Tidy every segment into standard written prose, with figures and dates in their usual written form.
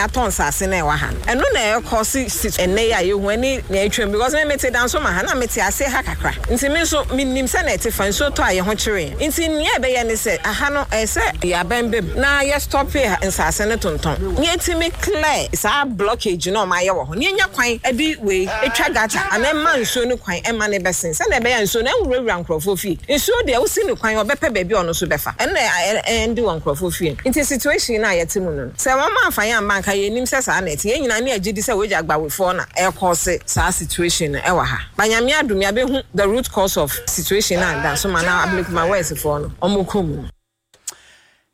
yɛatɔ nsaase no a ɛwɔ ha no. Ɛno na ɛrekɔse si ɛnnɛ yi a yɛhu ɛne nea atwam because me mete Dansoman ha na mete aseɛ ha kakra nti me nso menim sɛnea ɛte fa nsuo tɔ a yɛn ho kyere yɛn nti nea ɛbɛyɛ ne sɛ aha no ɛyɛ sɛ yɛabɛn bam na yɛ stɔpe nsaase no tontɔn na yɛtumi clear saa blockage no a wɔayɛ wɔ hɔ na yɛnya kwan de wei twa gutter anaa ɛma nsuo no kwan ɛma no bɛsen sɛnea ɛbɛyɛ a nsuo no ɛnwurawura nkurɔfoɔ fie. Nsuo deɛ wosi no kwan ɔbɛpɛ baabi a ɔno nso bɛfa. Ɛno na ɛnde wɔ nkurɔfoɔ fie no. Nti situation no a yɛte mu no no, sɛ wɔn amfa yɛn amma anka yɛnnim sɛ saa na ɛte. Yɛn nyinaa ne yɛgye di sɛ wei gya Agbawefoɔ na ɛrekɔɔse saa situation no ɛwɔ ha. But Nyame adom yɛabɛhu the root cause of situation no a Dansoman anaa Ablekuma West foɔ no wɔkɔ mu no.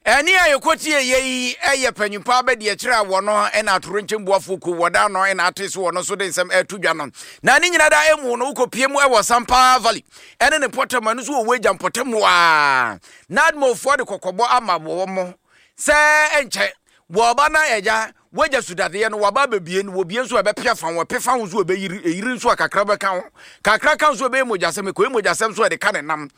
Ɛnne a yɛkɔtieeɛ yi yɛ panyimpa abadiakyire a wɔno na atorenkyɛm boafoɔ kuo wɔda ano na ate so wɔno nso de nsɛm ɛreto dwa no. Na ne nyina da emu no wokɔpie mu wɔ Sampa Valley ɛne ne mpɔtam ɛno nso wɔ Wagya mpɔtam a NADMOfoɔ de kɔkɔbɔ ama wɔn mo sɛ ɛnkyɛ wɔba na ɛgya wagya sudadeɛ no waba abɛbie no wɔbie nso ɛbɛpia fa ho ɛpefa ho nso ɛbɛyiri ɛyiri nso a kakra bɛka ho kakra ka nso ɛbɛyɛ mogyasɛm ɛkɔyɛ mogyasɛm nso ɛde ka ne nam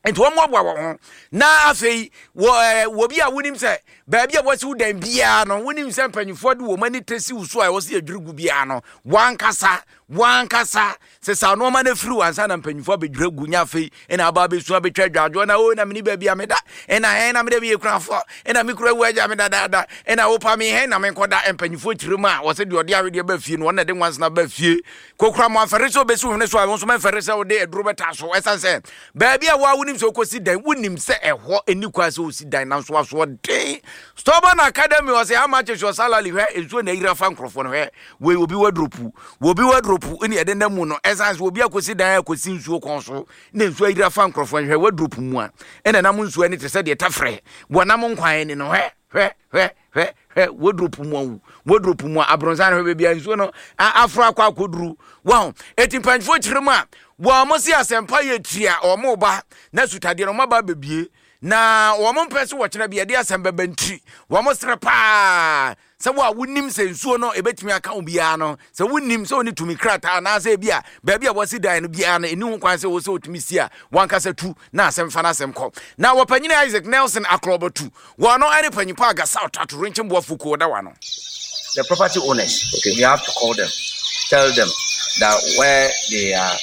Nti wɔmmoaboa wɔn ho. Na afei wɔ ɛɛ wɔ bi a wonim sɛ baabi a wɔasi wo dan biara no wonim sɛ mpanyinfoɔ de wɔn ani tɛ si wo so a ɛwɔ sɛ yɛdwiri gu biara no wankasa wankasa sesa nneɛma no afiri wansa na mpanyinfoɔ abɛdwiri agu nya afei ɛna aba abɛsu abɛtwa adwadwoɔ na o na mene baabi a meda ɛna hɛn na mede meyɛ kunafoɔ ɛna me kura wu agya me dadaada ɛna wopa me hɛn na menkɔda mpanyinfoɔ kyerɛ mu a wɔsɛ deɛ ɔde awedeɛ ba fie no wɔn na de nwansena ba fie Kokora mo amfɛre sɛ obesi wo hwene so a, wo nso mɛmfɛre sɛ wode aduro bɛtaa so. Ɛsiane sɛ baabi a wo a wonim sɛ wokɔsi dan, wonim sɛ ɛhɔ nni kwan sɛ wosi dan, nanso asoɔden. Stubborn Academy ɔsɛ how much is your salary? Hwɛ nsuo na ayiri afa nkurɔfoɔ no hwɛ wei obi wadropu obi wadropu ne ɛde nam mu no ɛsiane sɛ obi akɔsi dan akɔsi nsuo kɔn so na nsuo ayiri afa nkurɔfoɔ no hwɛ wadropu mu a ɛna nam nsuo ani te sɛ deɛ tafrɛ wɔnam nkwan ani no hwɛ hwɛ hwɛ hwɛ hwɛ wodropu mu awu wodropu mu a abrɔnsan hwɛ baabi a nsuo no aforo akɔ akɔduru wɔn eti mpanyinfoɔ kyerɛ mu a wɔn mo se asɛmpa yɛ tiri a wɔn ba na sutadeɛ no wɔn aba abɛbie na wɔn mpɛ so wɔkyerɛ bi ɛde asɛm bɛbɛ ntiri wɔn srɛ paa sɛ wo a wonim sɛ nsuo no ebɛtumi aka wo biara no sɛ wonim sɛ wone tumi krataa anaasɛ ebi a baabi a wɔasi dan no biara no ɛni ho kwan sɛ wɔ sɛ wotumi si a wankasa tu na asɛm fa no asɛm kɔ na wɔpanyini Isaac Nelson Akorɔbɔtu Wɔn ne panyin pa Gasau Tatorenkyem Boafo Kuo da wano. The property owners, okay. we have to call them, tell them that where they are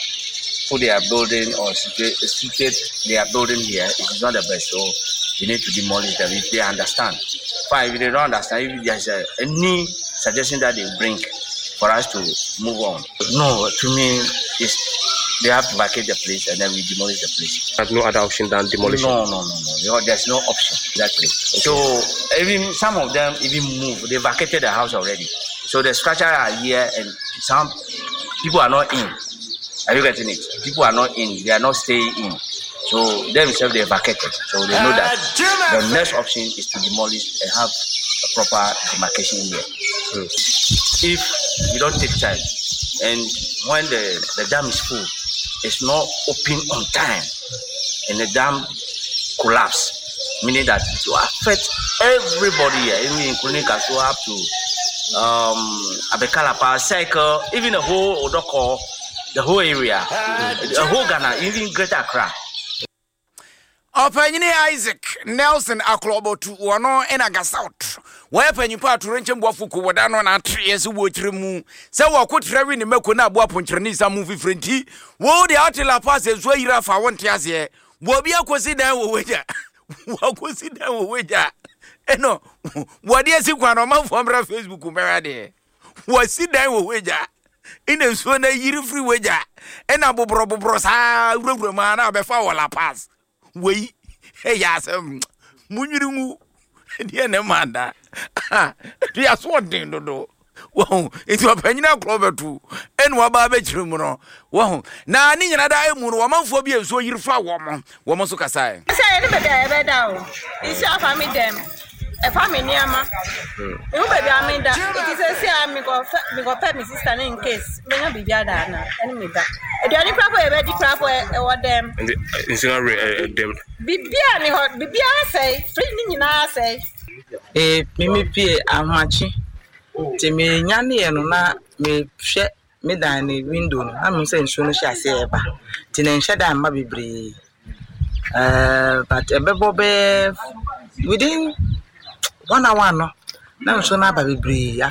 put their building or situate, situate their building here is not the best. So you need to demolish them if they understand. Fine, if they don't understand, if there's a, any suggestion that they bring for us to move on. No, to me, it's they have to vacate the place and then we demolish the place. There's no other option than demolition. No, no, no, no. You know, there's no option. Exactly. Okay. So even some of them even moved. They vacated the house already. So the structure are here and some people are not in. Are you getting it? People are not in. They are not staying in. So themselves they vacated. So they know that the next option is to demolish and have a proper demarcation here. Mm. If you don't take time and when the, the dam is full, it's not open on time and the dam collapse, meaning that it will affect everybody here, even including Kasua up to Abekalapa, Cycle, even the whole Odoko, the whole area, the whole Ghana, even Greater Accra. Ɔpanyini Isaac Nelson Aklɔbɔtu wɔno na Gasauth wɔyɛ panyimpa atorenkyɛm boafo kuo wɔda no na atreɛ sɛ wɔkyerɛ mu sɛ wɔko trɛ we ne mako na aboa ponkyerɛne nsa mu fifire nti wo deɛ ate la pa sɛ nsuo ayiri afa wo nte aseɛ wɔbi akɔsi dan wɔ wagya wɔakɔsi dan wɔ wagya ɛno wɔde asi kwan no ɔmanfoɔ mmra Facebook mbɛhwɛ adeɛ Wɔasi dan wɔ w'agya, ɛna nsuo no ayiri firi w'agya, ɛna boborɔboborɔ saa wurawura mu a na abɛfa wɔ La Paz. Wei ɛyɛ asɛm munwiri ngu deɛ ne ma da de aso ɔden dodo wɔho nti ɔpanyin akorɔ bɛto ɛna waba abɛkyerɛ mu no wɔho na ne nyina da emu no wɔmanfoɔ bi a nsuo yiri fa wɔn wɔn nso kasae. Sɛ yɛne baabi a yɛbɛda o nsuo afa me dɛm. Ɛfa me nneɛma. Mehu baabi a meda. Nti seesei a mekɔfɛ mekɔpɛ me sista no in case menya biribi ada ana ɛne me ba. Aduane koraa po yɛbɛdi koraa po ɛwɔ dɛm. Nti nsuo no awerɛ ɛdɛm. Biribiara ni hɔ biribiara asɛe fridge no nyinaa asɛe. Ee me me pie ahomakye nti me nyaneɛ no na mehwɛ me dan no window no na mehu sɛ nsuo no hyɛ aseɛ reba nti na ɛnhyɛ da mma bebree ɛɛɛ but ɛbɛbɔ bɛyɛ within one hour no na nsuo no aba bebree.